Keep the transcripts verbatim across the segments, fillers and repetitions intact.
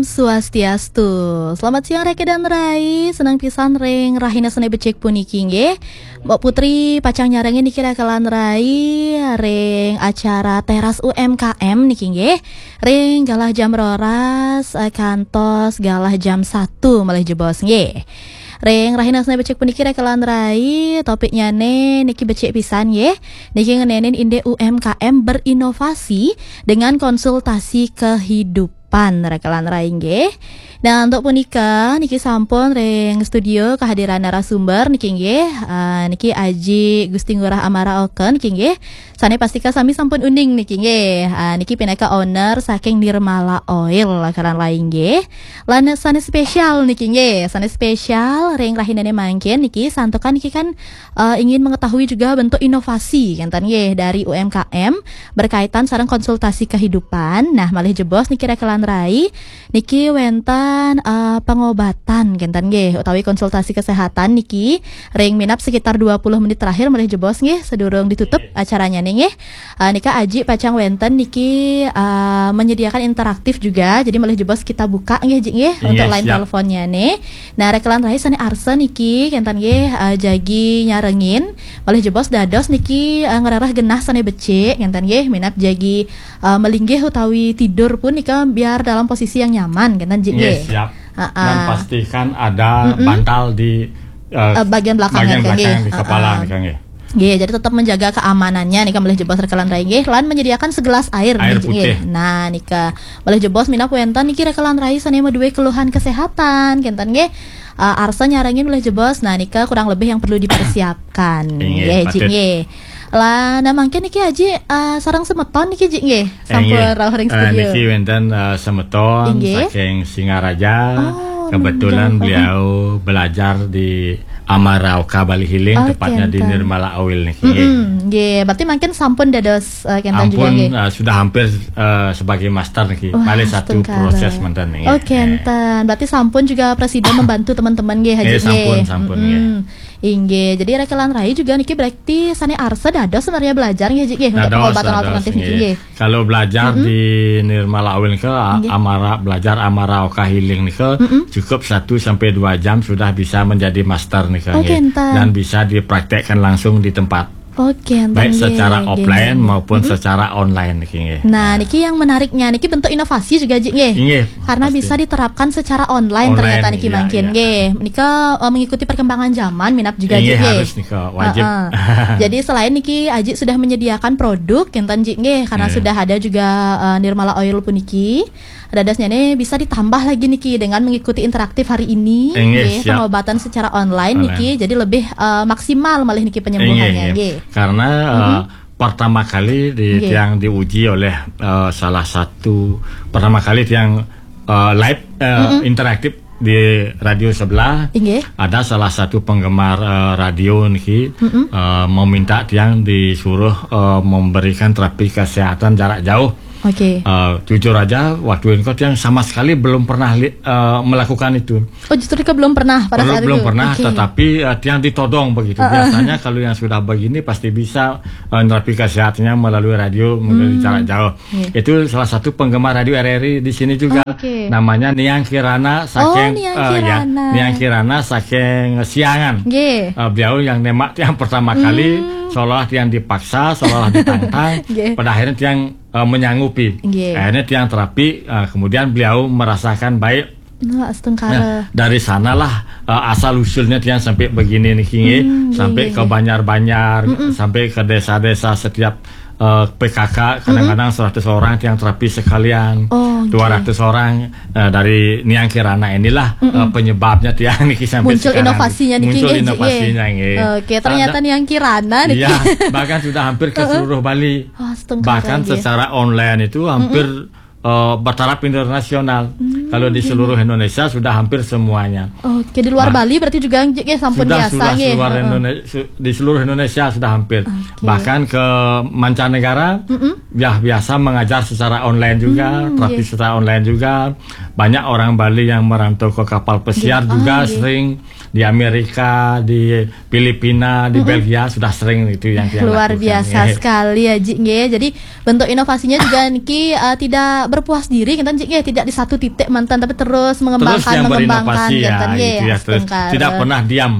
Swastiastu. Selamat siang Reke dan Rai. Senang pisan ring rahina sane becik puniki nggih. Mbok Putri pacang nyarengin niki Reke lan Rai ring acara Teras U M K M niki nggih. Ring galah jam roras eh, kantos galah jam satu malih jebos nggih. Ring rahina sane becik puniki Reke lan Rai, topiknyane niki becik pisan nggih. Niki ngenenin indik U M K M berinovasi dengan konsultasi kehidupan. Reke lan Rai nggih. Nah, untuk punika niki sampun ring studio kehadiran narasumber niki nggih. Ah, niki Aji Gusti Ngurah Amara Oken niki nggih. Sane pastika sami sampun uning niki nggih. Ah, niki pinaka owner saking Nirmala Oil Reke lan Rai nggih. Lan sane spesial niki nggih. Sane spesial ring rahinane mangkin niki santukan niki kan eh, ingin mengetahui juga bentuk inovasi kenten nggih dari U M K M berkaitan sareng konsultasi kehidupan. Nah, malih jebos niki Reke lan Rai niki wenten eh, pengobatan kenten nggih utawi konsultasi kesehatan niki ring minap sekitar dua puluh menit terakhir malih jebos nggih sedurung ditutup acaranya nih nggih. Eh, nika Aji pacang wenten niki eh, menyediakan interaktif juga. Jadi malih jebos kita buka nggih Ji nggih untuk Nggih, line siap. teleponnya nih. Nah, Reke lan Rai sane arsa niki kenten nggih eh, jagi nyarengin. Malih jebos dados niki eh, ngrereh genah sane becik kenten nggih minap jagi eh, melinggih utawi tidur pun nika biar dalam posisi yang nyaman kenten Ji Nggih, nggih. siap. Ha-ha. Dan pastikan ada Mm-mm. bantal di eh, Eh, bagian belakang bagian kenten nggih. belakang di kepala Ha-ha. nika nggih. Nggih, jadi tetap menjaga keamanannya nika malih jebos Reke lan Rai nggih lan menyediakan segelas air Air nggih. putih. Nah, nika malih jebos minap wenten niki Reke lan Rai sane madue keluhan kesehatan kenten nggih. Eh, arsa nyarengin malih jebos. Nah, nika kurang lebih yang perlu dipersiapkan. Inggih, Nggih, Ji patut. nggih. Lah, nah mangkin niki Aji eh, sareng semeton niki Ji nggih. Sampun Inggih. rauh ring Eh, studio. niki wenten eh, semeton Inggih. saking Singaraja. Oh, Kebetulan nggih. beliau belajar di Amara Oka Bali Healing, Oh, tepatnya di kenten. Nirmala Oil niki. Mm-mm, nggih. Berarti mangkin sampun dados eh, kenten juga Ampun nggih. eh, sudah hampir eh, sebagai master niki. Wah, Malih satu astungkara. proses manten nggih. Oh, kenten. Berarti sampun juga presiden membantu teman-teman nggih Haji Nggih, sampun, nggih. sampun, Mm-mm. nggih. Inggih. Jadi Reke lan Rai juga niki berarti sane arsa dados sebenarnya belajar nggih Ji nggih untuk Dados, pengobatan dados, alternatif niki nggih. nggih. Kalau belajar Mm-mm. di Nirmala Oil ke a- Nggih. Amara belajar Amara Oka Healing nika Mm-mm. cukup satu sampai dua jam sudah bisa menjadi master nika Oh, nggih. kenten. Dan bisa dipraktekkan langsung di tempat. Oh, kenten Baik nggih, secara nggih, offline nggih. maupun Mm-mm. secara online niki nggih. Nah, niki yang menariknya niki bentuk inovasi juga Ji nggih. Inggih, Karena pasti. bisa diterapkan secara online Online, ternyata niki iya, mangkin iya. nggih. Nika eh, mengikuti perkembangan zaman minap juga Ji Inggih, nggih. harus nika wajib. Heeh. Jadi selain niki Aji sudah menyediakan produk kenten Ji nggih karena Nggih. sudah ada juga eh, Nirmala Oil puniki. Dadosnya nih bisa ditambah lagi niki dengan mengikuti interaktif hari ini Inggih, nggih, siap. pengobatan secara online Online. niki jadi lebih eh, maksimal malih niki penyembuhannya Inggih, nggih. inggih. Karena eh, Mhm. pertama kali di Nggih. tiang diuji oleh eh, salah satu pertama kali tiang eh, live eh, Mm-mm. interaktif di radio sebelah Inggih. ada salah satu penggemar eh, radio niki Mm-mm. eh, meminta tiang disuruh eh, memberikan terapi kesehatan jarak jauh. Oke. Eh, jujur aja, waktu itu tiang sama sekali belum pernah li- eh, melakukan itu. Oh, justru Rika belum pernah pada Belum, saat belum itu. pernah, Oke. tetapi eh, tiang ditodong begitu. Heeh. Biasanya kalau yang sudah begini pasti bisa eh, nerapi kesehatannya melalui radio, melalui Hmm. jarak jauh. Iya. Itu salah satu penggemar radio R R I di sini juga. Oke. Namanya Niang Kirana Oh, saking Niang eh, ya, Kirana. Niang Kirana saking Siangan. Nggih. Eh, beliau yang nemak tiang pertama kali, Hmm. seolah tiang dipaksa, seolah ditantang. Nggih. Pada akhirnya tiang eh, menyanggupi. Nggih. Akhirnya tiang terapi, eh, kemudian beliau merasakan baik. Nah, astungkara. Nah, dari sanalah eh, asal usulnya tiang sampai begini niki nggih, Hmm, nggih, sampai nggih, ke nggih. Banjar-banjar, Mm-mm. sampai ke desa-desa setiap eh, P K K kadang-kadang Mm-mm. seratus orang tiang terapi sekalian, Oh, nggih. dua ratus orang eh, dari Niang Kirana inilah Mm-mm. eh, penyebabnya tiang niki sampai Muncul sekarang. inovasinya niki Muncul nggih, Ji, inovasinya nggih. nggih. Oke, ternyata Ada Niang Kirana niki. Iya, bahkan sudah hampir ke Heeh. seluruh Bali. Oh, astungkara, Bahkan nggih. secara online itu hampir Mm-mm. eh, bertaraf internasional. Hmm, Kalau di iya, seluruh iya. Indonesia sudah hampir semuanya. Oke, di luar Bah- Bali berarti juga nggih sampun Sudah, biasa sudah nggih. seluar Heeh. Indonesia, su- di seluruh Indonesia sudah hampir. Oke. Bahkan ke mancanegara, Mm-mm. ya biasa mengajar secara online juga, Hmm, terapi nggih. secara online juga. Banyak orang Bali yang merantau ke kapal pesiar Nggih. juga Oh, nggih. sering di Amerika, di Filipina, di Mm-mm. Belgia sudah sering itu yang tiang Luar lakukan, biasa nggih. sekali ya, Ji, nggih. Jadi bentuk inovasinya juga niki eh, tidak berpuas diri, kita Ji, nggih, tidak di satu titik Tapi terus mengembangkan, terus yang mengembangkan, berinovasi ya, gitu, gitu ya, terus astungkara. Tidak pernah diam.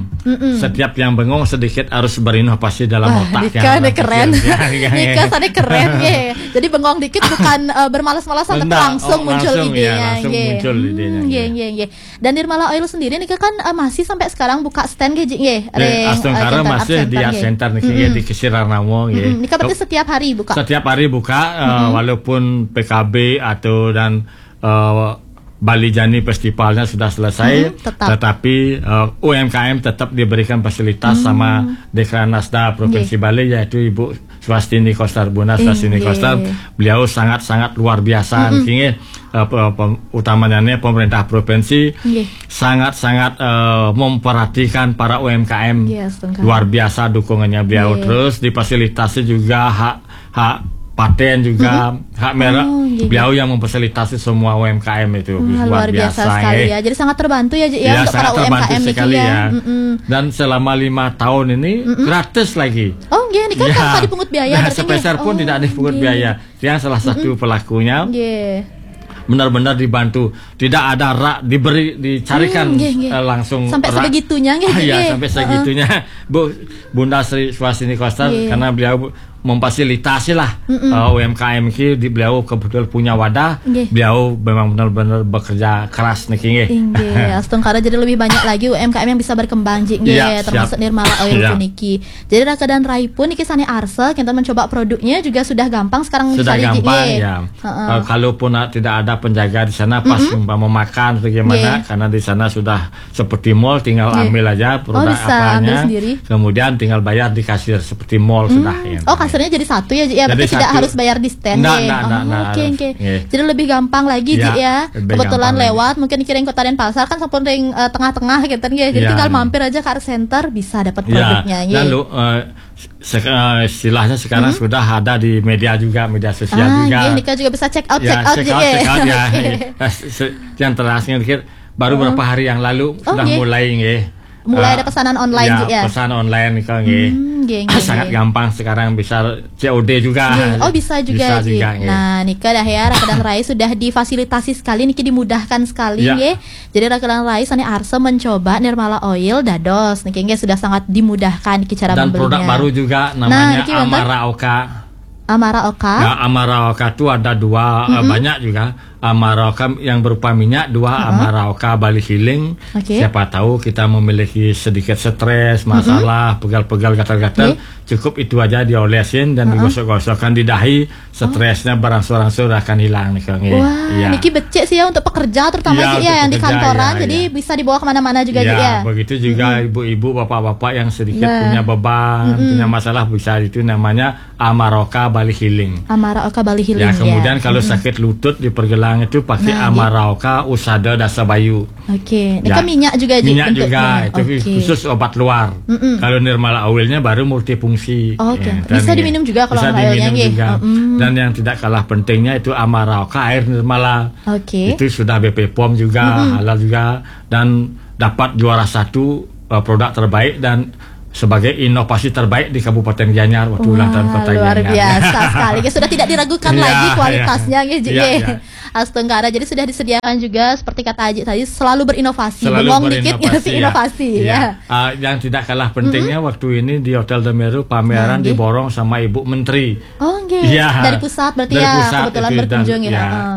Setiap yang bengong sedikit harus berinovasi dalam Wah, otak nikah yang nih keren. berpikir. Ya, ya, ya. Nikah sana keren, ye. Jadi bengong dikit bukan eh, bermalas-malasan, tapi Nggak, langsung oh, muncul langsung, ya, idenya, langsung ye. muncul idenya, Hmm, ye. Ye, ye, ye. Dan Nirmala Oil sendiri nih kan eh, masih sampai sekarang buka stand, ye, Jik, ye. Eh, astungkara masih di Art Center nih, ye, di Kesir Arnamo, ye. Ini kan berarti setiap hari buka. Setiap hari buka, eh, walaupun P K B atau dan eh, Bali Jani Festivalnya sudah selesai, Mhm, tetap. Tetapi eh, U M K M tetap diberikan fasilitas sama Dekranasda Provinsi Bali, yaitu Ibu Swastini Kostar, Bunda Swastini Inggih. Kostar. Beliau sangat-sangat luar biasa, nggih. Eh, pe- pem- utamanya nih pemerintah provinsi Nggih. sangat-sangat eh, memperhatikan para U M K M. Yes, Tuan Kak. Luar biasa dukungannya beliau. Nggih. Terus difasilitasi juga hak hak paten juga, hak merek. Oh, nggih, Beliau yang memfasilitasi semua U M K M itu. Wah, luar biasa sekali, eh. Ya. Jadi sangat terbantu ya, Jik, ya, Ya, untuk para sangat terbantu U M K M niki, sekali, ya. ya. Dan selama lima tahun ini gratis lagi. Oh, nggih, niki kan Ya. tanpa dipungut biaya, Nah, berarti, sepeser nggih. pun Oh, tidak dipungut nggih. biaya. Yang salah satu pelakunya Nggih. benar-benar dibantu. Tidak ada rak diberi, dicarikan Hmm, nggih, nggih. eh, langsung Sampai rak. Sebegitunya, nggih, Ah, Jik, ya, nggih. Sampai Heeh. Segitunya. Bu Bunda Sri Swastini Kostar, Nggih. Karena beliau memfasilitasi lah eh, U M K M ki, di beliau kebetulan punya wadah, Nggih. Beliau memang benar-benar bekerja keras niki, nggih. Inggih, astungkara, jadi lebih banyak lagi U M K M yang bisa berkembang, Jik, nggih, Iya, siap. Termasuk Nirmala Oil Iya. puniki. Jadi Raka dan Rai pun niki sane arsa, kita mencoba produknya juga sudah gampang sekarang Sudah dicari, Jik, gampang, nggih. Ya. Heeh. Eh, kalaupun ah, tidak ada penjaga di sana, pas umpama makan bagaimana, Nggih. Karena di sana sudah seperti mall, tinggal Nggih. Ambil aja Oh, produk bisa apanya. ambil sendiri. Kemudian tinggal bayar di kasir seperti mall sudah. Ya. Oh, kasirnya jadi satu ya, Jik, ya? Jadi Berarti tidak satu. harus bayar di stand, Nggak, nggih. nggak, Oh, nggak, nggak oke, harus. Oke. Nggih. Jadi lebih gampang lagi, Ya, Jik, ya. lebih Kebetulan gampang lagi. Lewat, mungkin kira-kota Denpasar kan sampun ring eh, tengah-tengah gitu, nggih. Jadi Ya. Tinggal mampir aja ke Art Center, bisa dapat Ya. produknya, nggih. Dan lu, eh, se- eh, istilahnya sekarang sudah ada di media juga, media sosial Ah, juga. Nggih, nika juga bisa check out, Ya, check out, check Jik, out, ya. check out, ya. Nah, se- yang terakhir dikit, baru beberapa hari yang lalu sudah Nggih. Mulai, nggih. Mulai Eh, ada pesanan online, ya, Jik, ya? Pesan online nih, nggih. Hmm, nggih, nggih, Sangat nggih. gampang sekarang, bisa C O D juga. Nggih. Oh, bisa juga, Bisa Jik. juga, nggih. Nah, nika dah ya, Raka dan Rai sudah difasilitasi sekali, niki dimudahkan sekali, Ya. Nggih. Jadi Raka dan Rai sane arsa mencoba Nirmala Oil dados, niki, nggih, sudah sangat dimudahkan niki cara Dan membelinya. Produk baru juga Nah, namanya niki wonten? Amara Oka. Amara Oka. Ya, Amara Oka itu ada dua, eh, banyak juga. Amara Oka yang berupa minyak, dua Amara Oka Bali Healing. Oke. Siapa tahu kita memiliki sedikit stres, masalah, pegal-pegal, gatal-gatal. Cukup itu aja diolesin dan digosok-gosokkan di dahi, stresnya berangsur-angsur akan hilang nih, Kang. Wah, Iya. Niki becik sih ya untuk pekerja terutama, Iya, Jik, ya, untuk yang di pekerja, kantoran, ya, jadi ya. Bisa dibawa kemana-mana juga, Ya, Jik, ya. Begitu juga ibu-ibu, bapak-bapak yang sedikit Nah. Punya beban, punya masalah, bisa itu namanya Amaroka Bali Healing. Amara Oka Bali Healing, Ya, ya. kemudian kalau sakit lutut dipergelangan itu pakai Nah, Amaroka Usada Dasa Bayu. Oke, ini Ya. kan minyak juga, Jik, Minyak bentuknya. juga, itu Oke. Khusus obat luar. Kalau Nirmala Oilnya baru multifungsi. Oke. Ya, Bisa dan diminum juga kalau Bisa Nirmala Oilnya, diminum nggih. juga. Dan yang tidak kalah pentingnya itu Amara Oka air Nirmala. Oke. Itu sudah B P pom juga, halal juga, dan dapat juara satu, eh, produk terbaik dan sebagai inovasi terbaik di Kabupaten Gianyar waktu ulang tahun Kota Luar Gianyar. Biasa sekali. Ya, sudah tidak diragukan Iya, lagi iya. kualitasnya, nggih, Jik, Iya, nggih. Iya. Astungkara, jadi sudah disediakan juga seperti kata Ajik tadi, selalu berinovasi. Selalu Bengong dikit, berinovasi, tapi ya. Inovasi, Iya. Ya. Ah, yang tidak kalah pentingnya waktu ini di Hotel Demeru pameran Nah, nggih. Diborong sama Ibu Menteri. Oh, nggih. Iya. Dari pusat berarti, Dari ya, pusat kebetulan itu, dan, berkunjung, ya. Ya, Heeh.